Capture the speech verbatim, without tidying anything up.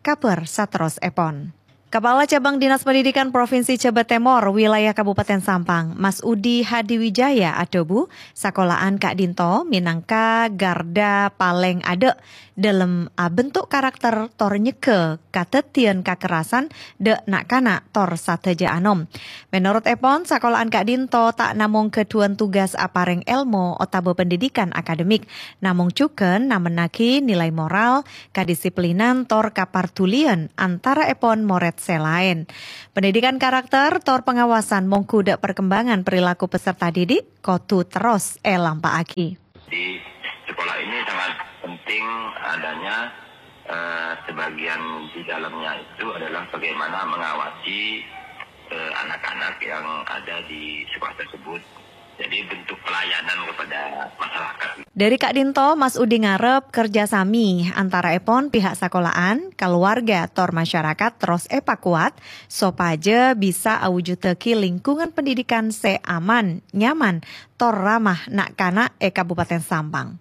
Kabhâr saterrossèpon. Kapala Cabang Dinas Pendidikan Provinsi Jhâbâ Tèmor, wilayah Kabupaten Sampang, Mas Udi Hadiwijaya adhâbu, sakola'an ka'dinto mènangka ghârdhâ palèng adâ' dhâlem abentuk karakter tor nyegghâ kadhâddhiyân kakerasan dâ' na'-kana' tor sadhâjâ anom. Mènorot èpon, sakola'an ka'dinto ta' namong ghâdhuwân tugas aparèng èlmo otabâ pendidikan akademik, namong jhughân namennaghi nilai moral, kadisiplinan tor kapardhuliyân antaraèpon morèd sè laèn. Pendidikan karakter tor pengawasan mongghu dâ' perkembangan perilaku peserta didik kodhu terros èlampa'aghi. Di sekolah ini sangat penting adanya, eh, sebagian di dalamnya itu adalah bagaimana mengawasi, eh, anak-anak yang ada di sekolah tersebut. Jadi bentuk pelayanan kepada masyarakat. Dâri ka'dinto, Mas Udi ngarep kerja sami antaraèpon pihak sakola'an, kaluwarga, tor masyarakat terros èpakowat sopajâ bisa awujudaghi lingkungan pendidikan sè aman, nyaman, tor ramah na'-kana' è Kabupaten Sampang.